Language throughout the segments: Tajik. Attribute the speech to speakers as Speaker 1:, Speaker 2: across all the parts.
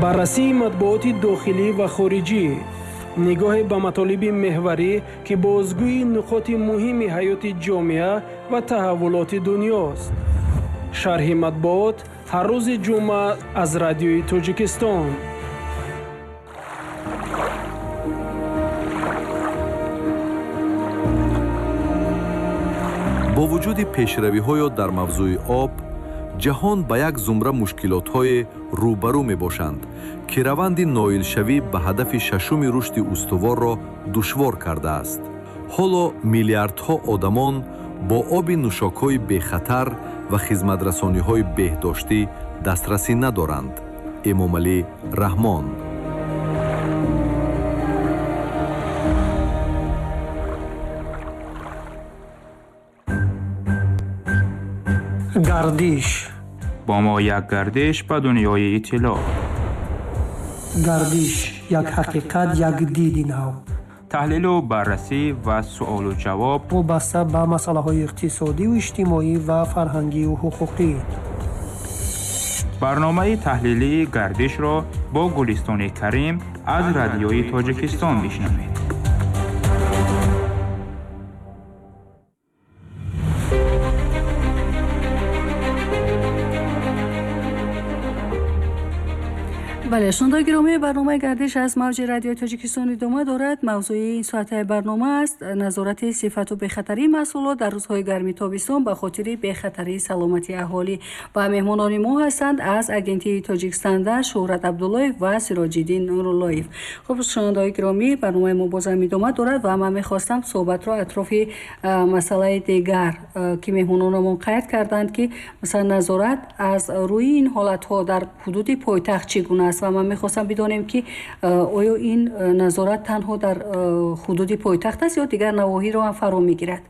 Speaker 1: Баррасии матбуоти дохилӣ ва хориҷӣ, нигоҳе ба матолиби меҳварӣ, ки бозгӯи нуқоти муҳими ҳаёти ҷомеа ва таҳаввулоти дунёст. Шарҳи матбуот ҳар рӯзи ҷумъа аз Радиои Тоҷикистон.
Speaker 2: Бо вуҷуди пешравиҳоё дар мавзӯи об, ҷаҳон ба як зумра мушкилотҳое рӯбарӯ мебошанд, ки раванди ноилшавӣ ба ҳадафи шашуми рушди устуворро душвор кардааст. Ҳоло миллиардҳо одамон бо оби нӯшокҳои бехатар ва хизматрасониҳои беҳдоштӣ дастрасӣ надоранд. Эмомалӣ Раҳмон.
Speaker 3: Гардиш.
Speaker 4: Бо мо як гардиш ба дунёи иттилоъ.
Speaker 3: Гардиш як ҳақиқат, як диди нав.
Speaker 4: Таҳлилу баррасӣ ва суолу ҷавоб
Speaker 3: вобаста ба масъалаҳои иқтисодиву иҷтимоӣ ва фарҳангию ҳуқуқӣ.
Speaker 4: Барномаи таҳлилии Гардишро бо Гулистони Карим аз Радиои Тоҷикистон бишнавед.
Speaker 5: Бале, шунавандагони гиромӣ, барномаи Гардиш аз мавҷи Радиои Тоҷикистон идома дорад. Мавзӯи ин соатаи барнома аст назорати сифату бехатарии маҳсулот дар рӯзҳои гарми тобистон ба хотири бехатарии саломатии аҳолӣ. Ва меҳмонони мо ҳастанд аз агентии Тоҷикстандарт Шӯҳрат Абдуллоев ва Сироҷиддин Нуруллоев. Хуб, шунавандагони гиромӣ, барномаи мо бозам идома дорад ва ман мехостам суҳбатро атрофи масъалаи дигар, ки меҳмононамон қайд карданд, ки масалан назорат аз рӯи ин ҳолатҳо дар ҳудуди пойтахт чӣ гуна аст, ва ман мехостам бидонем, ки оё ин назорат танҳо дар ҳудуди пойтахт аст ё дигар навоҳиро ҳам фаро мегирад?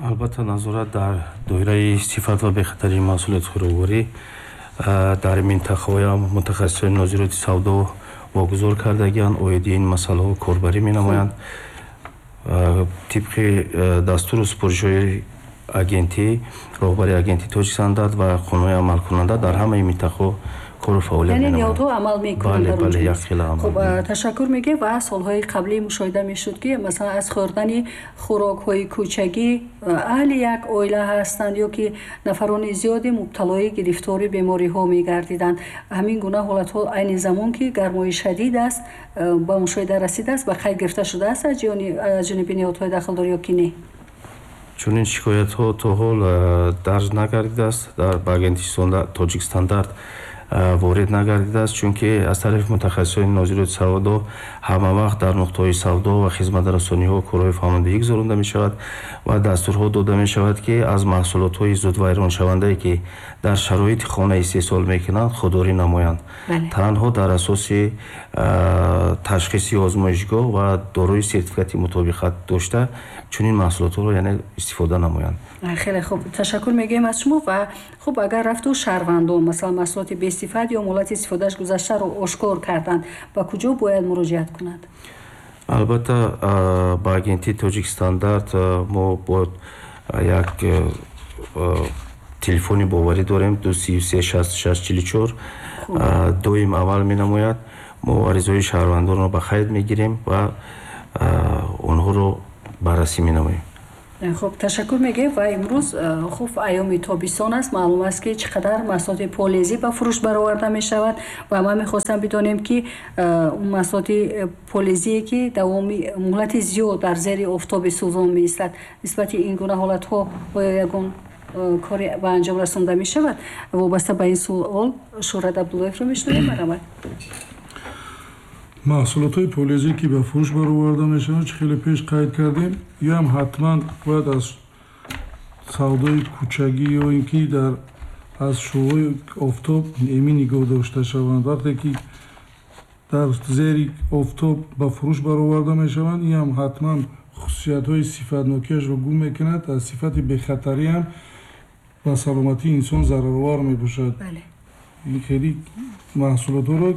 Speaker 6: Албатта, назорат дар доираи сифат ва бехатарии маҳсулоти хӯрокворӣ дар минтақаҳоям мутахассисони нозироти савдо вогузор кардагианд, оиди ин масъалаҳо корбарӣ менамоянд. Тибқи дастуру супоришҳои агентӣ, роҳбари агентии Тоҷикстандарт ва қонунҳои амалкунанда дар ҳамаи минтақаҳо кору фаъолият
Speaker 5: Яъне
Speaker 6: менамоянд.
Speaker 5: ниҳодҳо амал мекунанд
Speaker 6: Бале,
Speaker 5: дар он
Speaker 6: бале,
Speaker 5: ҷо?
Speaker 6: як хела амал
Speaker 5: Хуб,
Speaker 6: мекунанд.
Speaker 5: Ташаккур мегӯем. Ва солҳои қаблӣ мушоҳида мешуд, ки масалан аз хӯрдани хӯрокҳои кӯчагӣ аҳли як оила ҳастанд ё ки нафарони зиёде мубталои гирифтори бемориҳо мегардиданд. Ҳамин гуна ҳолатҳо айни замон, ки гармои шадид аст, ба мушоҳида расидааст, ба қайд гирифта шудааст аз ҷониби ниҳодҳои дахлдор ё ки не?
Speaker 6: Чунин шикоятҳо то ҳол дарҷ нагардидааст, дар ба агентии Тоҷикстандарт ворид нагардидааст, чунки аз тарафи мутахассисони нозироти савдо ҳама вақт дар нуқтаҳои савдо ва хизматрасониҳо корҳои фаҳмондагӣ гузаронда мешавад ва дастурҳо дода мешавад, ки аз маҳсулотҳои зудвайроншавандае, ки дар шароити хона истеҳсол мекунанд, худдорӣ намоянд. Танҳо дар асоси ташхиси озмоишгоҳ ва дорои сертификати мутобиқат дошта чунин маҳсулотҳоро яъне истифода намоянд.
Speaker 5: Хеле хуб, ташаккур мегӯем аз шумо. Ва хуб, агар рафту шаҳрвандон масалан маҳсулоти бесифат ё муҳлати истифодааш гузаштаро ошкор карданд, ба куҷо бояд муроҷиат кунанд?
Speaker 6: Албатта, ба агентии Тоҷикстандарт мо бояд як телефони боварӣ дорем, 233 66 44, доим амал менамояд. Мо аризаҳои шаҳрвандонро ба қайд мегирем ва онҳоро баррасӣ менамоем.
Speaker 5: Хуб, ташаккур мегӯем. Ва имрӯз, хуб, айёми тобистон аст, маълум аст, ки чӣ қадар маҳсулоти полезӣ ба фурӯш бароварда мешавад ва ман мехостам бидонем, ки он маҳсулоти полезие, ки давоми муҳлати зиёд дар зери офтоби сӯзон меистад, нисбати ин гуна ҳолатҳо оё ягон коре ба анҷом расонда мешавад? Вобаста ба ин суол Шӯҳрат Абдуллоевро мешунавем. Марҳамат.
Speaker 7: Маҳсулотҳои полезӣ, ки ба фурӯш бароварда мешаванд, чӣ хеле пеш қайд кардем, ё ҳам ҳатман бояд аз савдои кӯчагӣ ё ин ки дар аз шуъои офтоб эмин нигоҳ дошта шаванд. Вақте ки дар зери офтоб ба фурӯш бароварда мешаванд, ин ҳам ҳатман хусусиятҳои сифатнокиашро гум мекунад, аз сифати бехатарӣ ҳам ба саломатии инсон зараровар мебошад. Ин хеле маҳсулотҳоро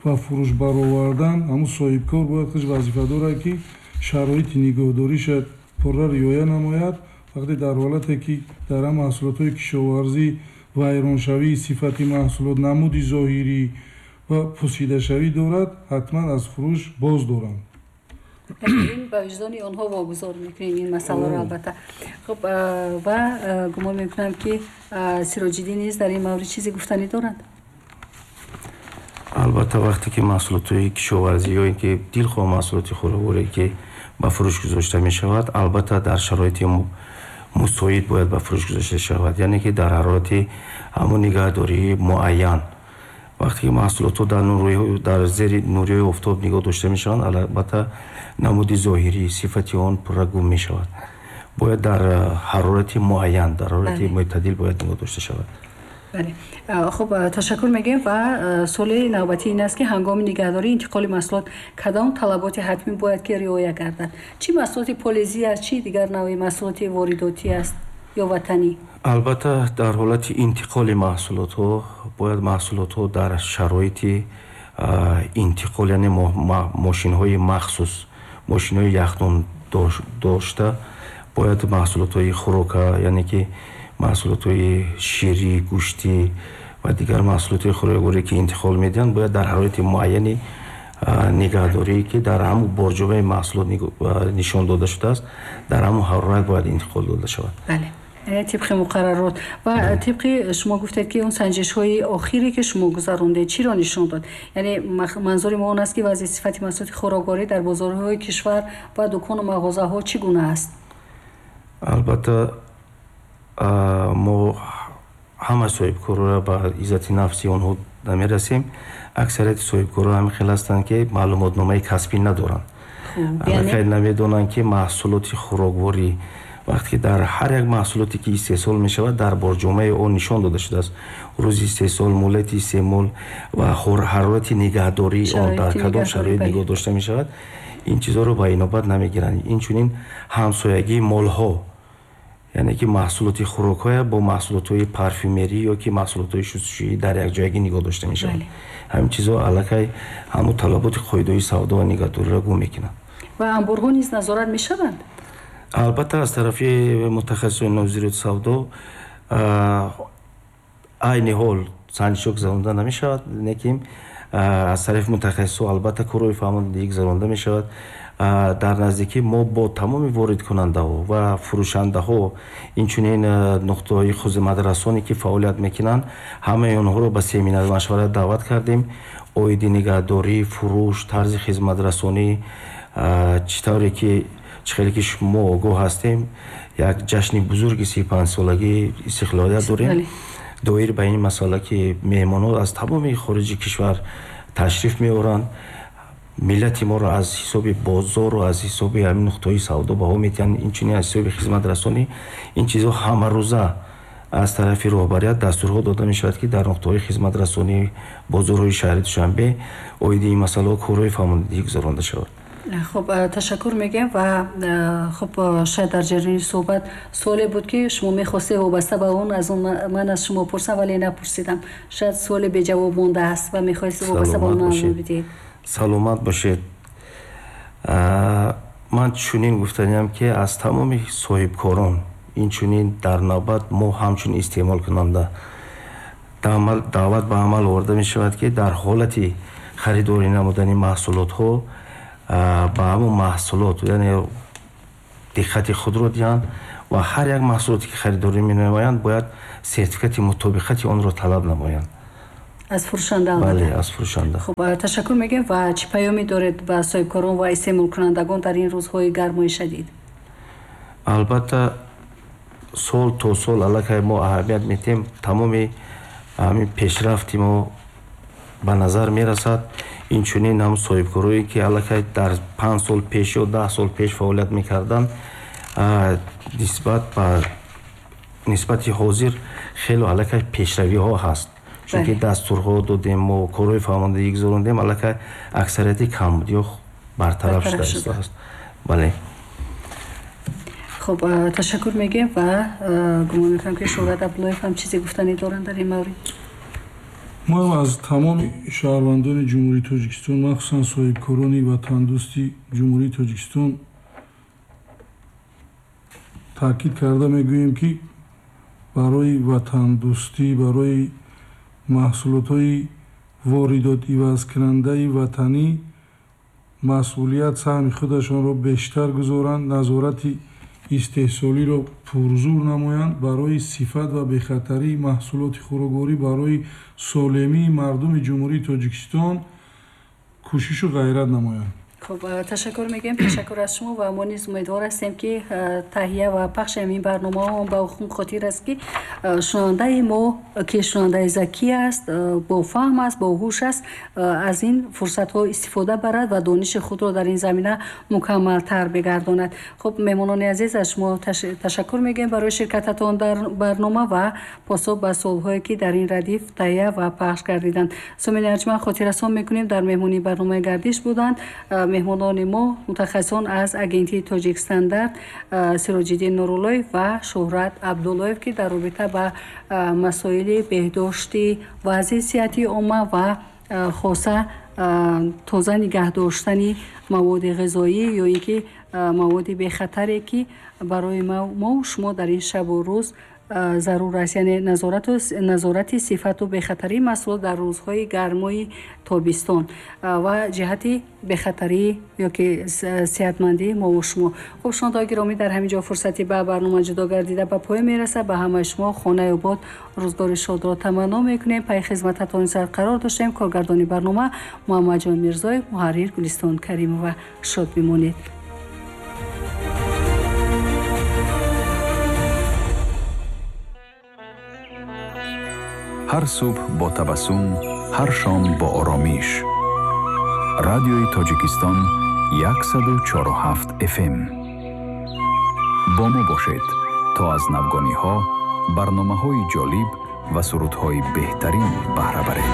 Speaker 7: ба фурӯш баровардан ҳамун соҳибкор бояд худаш вазифа дорад, ки шароити нигоҳдориша пурра риоя намояд. Вақте дар ҳолате ки дар ҳам маҳсулотҳои кишоварзӣ вайроншавии сифати маҳсулот, намуди зоҳирӣ ва пусидашавӣ дорад, ҳатман аз фурӯш боз доранд.
Speaker 5: Ин ба виҷдони онҳо вогузор мекунем ин масъаларо, албатта. Хуб, ва гумон мекунам, ки Сироҷиддин низ дар ин маврид чизе гуфтанӣ доранд.
Speaker 6: Албатта, вақте ки маҳсулотҳои кишоварзӣ ё ин ки дилхоҳ маҳсулоти хӯрокворе ки ба фурӯш гузошта мешавад, албатта, дар шароити мусоид бояд ба фурӯш гузошта шавад, яъне ки дар ҳарорати ҳамон нигаҳдории муайян. Вақте ки маҳсулотҳо дар зери нуриҳои офтоб нигоҳ дошта мешаванд, албатта, намуди зоҳирӣ, сифати он пурра гум мешавад. Бояд дар ҳарорати муайян, дар ҳарорати мӯътадил бояд нигоҳ дошта шавад.
Speaker 5: Бале, хуб, ташаккур мегӯем. Ва суоли навбатӣ ин аст, ки ҳангоми нигаҳдории интиқоли маҳсулот кадом талаботи ҳатмӣ бояд ки риоя гардад? Чӣ маҳсулоти полезӣ аст, чӣ дигар навъи маҳсулоти воридотӣ аст ё ватанӣ?
Speaker 6: Албатта, дар ҳолати интиқоли маҳсулотҳо бояд маҳсулотҳо дар шароити интиқол, яъне мошинҳои махсус, мошинҳои яхдон дошта бояд маҳсулотҳои хӯрока, яъне ки маҳсулотҳои ширӣ, гӯштӣ ва дигар маҳсулотҳои хӯрокворе ки интиқол медиҳанд, бояд дар ҳарорати муайяни нигаҳдорӣ, ки дар ҳамун борҷобаи маҳсулот нишон дода шудааст, дар ҳамун ҳарорат бояд интиқол дода шавад.
Speaker 5: Бале, тибқи муқаррарот. Ва тибқи шумо гуфтед, ки он санҷишҳои охире ки шумо гузарондед, чиро нишон дод? Яъне манзури мо он аст, ки вазъи сифати маҳсулоти хӯрокворӣ дар бозорҳои кишвар ва дукону мағозаҳо чӣ гуна аст?
Speaker 6: Албатта, мо ҳама соҳибкорро ба иззати нафси онҳо намерасем. Аксарияти соҳибкорро ҳамин хел ҳастанд, ки маълумотномаи касбӣ надоранд, аллакай намедонанд, ки маҳсулоти хӯрокворӣ вақте ки дар ҳар як маҳсулоте ки истеҳсол мешавад, дар борҷомаи он нишон дода шудааст рӯзи истеҳсол, муҳлати истеъмол ва ҳарорати нигаҳдории он, дар кадом шароит нигоҳ дошта мешавад. Ин чизҳоро ба инобат намегиранд. Инчунин ҳамсоягии молҳо, яъне ки маҳсулоти хӯрокҳоя бо маҳсулотҳои парфюмерӣ ё ки маҳсулотҳои шустушӯӣ дар якҷоягӣ нигоҳ дошта мешавад. Ҳамин чизҳо аллакай ҳамун талаботи қоидаҳои савдо ва нигаҳдориро гум мекунанд.
Speaker 5: Ва анборҳо низ назорат мешаванд?
Speaker 6: Албатта, аз тарафи мутахассисони нозироти савдо айни ҳол санҷишҳо гузаронда намешавад, лекин аз тарафи мутахассисҳо албатта корҳои фаҳмондагӣ гузаронда мешавад. Дар наздикӣ мо бо тамоми воридкунандаҳо ва фурӯшандаҳо, инчунин нуқтаҳои хизматрасоне ки фаъолият мекунанд, ҳамаи онҳоро ба семинар машварат даъват кардем оиди нигаҳдорӣ, фурӯш, тарзи хизматрасонӣ. Чӣ тавре ки чӣ хеле ки шумо огоҳ ҳастем, як ҷашни бузурги 35-солагии истиқлолият дорем. Доир ба ин масъала, ки меҳмонҳо аз тамоми хориҷи кишвар ташриф меоранд, миллати моро аз ҳисоби бозору аз ҳисоби ҳамин нуқтаҳои савдо баҳо медиҳанд, инчунин аз ҳисоби хизматрасонӣ. Ин чизҳо ҳамарӯза аз тарафи роҳбарият дастурҳо дода мешавад, ки дар нуқтаҳои хизматрасонии бозорҳои шаҳри Душанбе оиди ин масъалаҳо корҳои фаҳмондагӣ гузаронда шавад.
Speaker 5: Хуб, ташаккур мегӯем. Ва хуб, шояд дар ҷараёни суҳбат суоле буд, ки шумо мехостед вобаста ба он аз он ман аз шумо пурсам, вале напурсидам. Шояд суоле беҷавоб мондааст ва мехоҳед вобаста ба он маълумот бидиҳед.
Speaker 6: Саломат бошед. Ман чунин гуфтаниям, ки аз тамоми соҳибкорон, инчунин дар навбат мо ҳамчун истеъмолкунанда даъват ба амал оварда мешавад, ки дар ҳолати харидорӣ намудани маҳсулотҳо ба ҳамон маҳсулот, яъне диққати худро диҳанд ва ҳар як маҳсулоте ки харидорӣ менамоянд, бояд сертификати мутобиқати онро талаб намоянд.
Speaker 5: Аз фурӯшанда.
Speaker 6: Бале, аз фурӯшанда.
Speaker 5: Хуб, ташаккур мегӯем. Ва чӣ паёме доред ба соҳибкорон ва истеъмолкунандагон дар ин рӯзҳои гармои шадид?
Speaker 6: Албатта, сол то сол аллакай мо аҳамият медиҳем, тамоми ҳамин пешрафти мо ба назар мерасад. Инчунин ҳам соҳибкорое ки аллакай дар 5 сол пеш ё 10 сол пеш фаъолият мекарданд, нисбат ба нисбати ҳозир хело аллакай пешравиҳо ҳаст, чунки дастурҳо додем, мо корҳои фаҳмондагӣ гузарондем, аллакай аксарияти камбудиҳо бартараф шуда истодааст, бале.
Speaker 5: Хуб, ташаккур мегӯем. Ва гумон мекунам, ки Шӯҳрат Абдуллоев ҳам чизе гуфтанӣ доранд дар ин маврид.
Speaker 7: Мо аз тамоми шаҳрвандони Ҷумҳурии Тоҷикистон, махсусан соҳибкорони ватандӯсти Ҷумҳурии Тоҷикистон таъкид карда мегӯем, ки барои ватандӯстӣ, барои маҳсулотҳои Воридот ивазкунандаи ватанӣ масъулият саҳми худашонро бештар гузоранд, назорати истеҳсолиро пурзур намоянд, барои сифат ва бехатарии маҳсулоти хӯрокворӣ, барои солимии мардуми Ҷумҳурии Тоҷикистон кӯшишу ғайрат намоянд.
Speaker 5: Хуб, ташаккур мегӯем, ташаккур аз шумо ва мо низ умедвор ҳастем, ки таҳия ва пахши ҳамин барномаҳо ба он хотир аст, ки шунавандаи мо, ки шунавандаи закӣ аст, бофаҳм аст, боҳуш аст, аз ин фурсатҳо истифода барад ва дониши худро дар ин замина мукаммалтар бигардонад. Хуб, меҳмонони азиз, аз шумо ташаккур мегӯем барои ширкататон дар барнома ва посух ба суолҳое, ки дар ин радиф таҳия ва пахш гардиданд. Сомини арҷманд, хотиррасон мекунем, дар меҳмонии барномаи Гардиш буданд меҳмонони мо, мутахассисон аз агентии Тоҷикстандарт Сироҷиддин Нуруллоев ва Шӯҳрат Абдуллоев, ки дар робита ба масоили беҳдошти вазъи сиҳатии омма ва хоса тоза нигаҳ доштани маводи ғизоӣ ё ин ки маводи бехатаре, ки барои мову шумо дар ин шабу рӯз зарур аст, яъне назорати сифату бехатарии маҳсулот дар рӯзҳои гармои тобистон ва ҷиҳати бехатарӣ ё ки сиҳатмандии мову шумо. Хуб, шунавандаҳои гиромӣ, дар ҳамин ҷо фурсати ба барнома ҷудо гардида ба поён мерасад. Ба ҳамаи шумо хонаи обод, рӯзгори шодро таманно мекунем. Пайи хизмататон сар қарор доштем. Коргардони барнома Муҳаммадҷон Мирзоев, муҳаррир Гулистон Каримова. Шод бимонед.
Speaker 8: Ҳар субҳ бо табассум, ҳар шом бо оромиш. Радиои Тоҷикистон, 104,7 FM. Бо мо бошед, то аз навгониҳо, барномаҳои ҷолиб ва сурудҳои беҳтарин баҳра баред.